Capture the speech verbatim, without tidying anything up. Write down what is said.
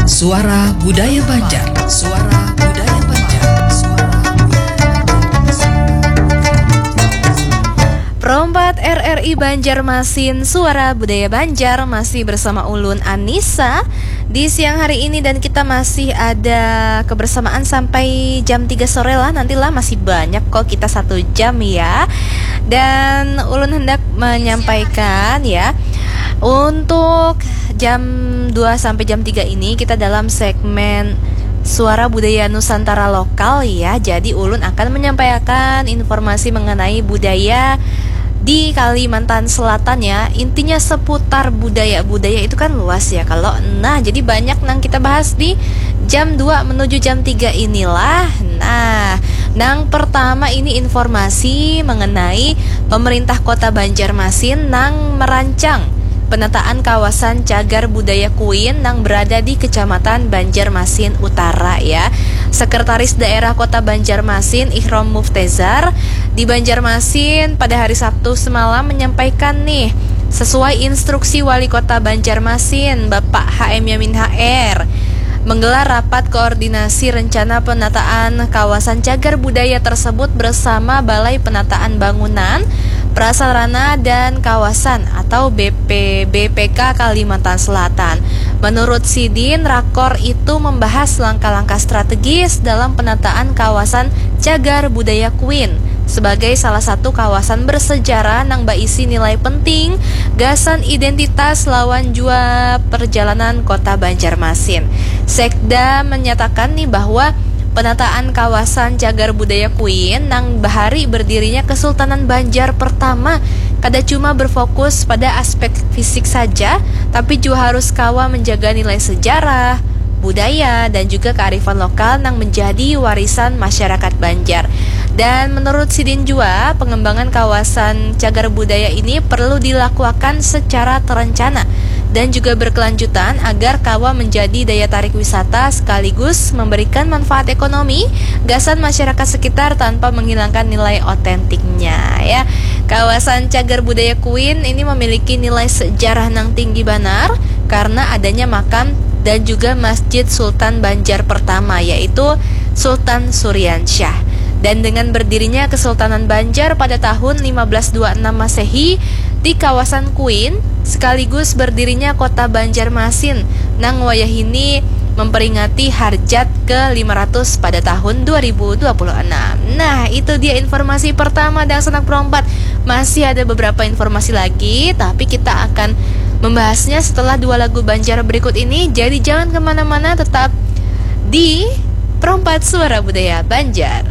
Suara Budaya Banjar. Suara Budaya Banjar. Suara Budaya Banjar. Perompat R R I Banjarmasin, Suara Budaya Banjar, masih bersama ulun Anissa di siang hari ini, dan kita masih ada kebersamaan sampai jam tiga sore lah, nantilah, masih banyak kok kita satu jam ya. Dan ulun hendak menyampaikan ya, untuk jam dua sampai jam tiga ini kita dalam segmen Suara Budaya Nusantara Lokal ya. Jadi ulun akan menyampaikan informasi mengenai budaya di Kalimantan Selatan ya. Intinya seputar budaya. Budaya itu kan luas ya kalau. Nah, jadi banyak nang kita bahas di jam dua menuju jam tiga inilah. Nah, nang pertama ini informasi mengenai pemerintah Kota Banjarmasin nang merancang penataan kawasan Cagar Budaya Kuin nang berada di Kecamatan Banjarmasin Utara ya. Sekretaris Daerah Kota Banjarmasin, Ihrom Muftezar, di Banjarmasin pada hari Sabtu semalam menyampaikan nih, sesuai instruksi Wali Kota Banjarmasin, Bapak H M Yamin H R, menggelar rapat koordinasi rencana penataan kawasan cagar budaya tersebut bersama Balai Penataan Bangunan, Prasarana, dan Kawasan atau B P B P K Kalimantan Selatan. Menurut sidin, rakor itu membahas langkah-langkah strategis dalam penataan kawasan cagar budaya Kuin sebagai salah satu kawasan bersejarah nang baisi nilai penting gasan identitas lawan jua perjalanan Kota Banjarmasin. Sekda menyatakan nih bahwa penataan kawasan cagar budaya Kuin nang bahari berdirinya Kesultanan Banjar pertama kada cuma berfokus pada aspek fisik saja, tapi juga harus kawa menjaga nilai sejarah, budaya, dan juga kearifan lokal nang menjadi warisan masyarakat Banjar. Dan menurut sidin jua, pengembangan kawasan cagar budaya ini perlu dilakuakan secara terencana dan juga berkelanjutan agar kawa menjadi daya tarik wisata sekaligus memberikan manfaat ekonomi gasan masyarakat sekitar tanpa menghilangkan nilai otentiknya ya. Kawasan cagar budaya Kuin ini memiliki nilai sejarah nang tinggi banar karena adanya makam dan juga Masjid Sultan Banjar pertama, yaitu Sultan Suriansyah. Dan dengan berdirinya Kesultanan Banjar pada tahun lima belas dua enam Masehi di kawasan Kuin, sekaligus berdirinya Kota Banjarmasin nang wayahini memperingati Harjat ke lima ratus pada tahun dua ribu dua puluh enam. Nah, itu dia informasi pertama, dangsanak perompat. Masih ada beberapa informasi lagi, tapi kita akan membahasnya setelah dua lagu Banjar berikut ini. Jadi jangan kemana-mana, tetap di Perompat Suara Budaya Banjar.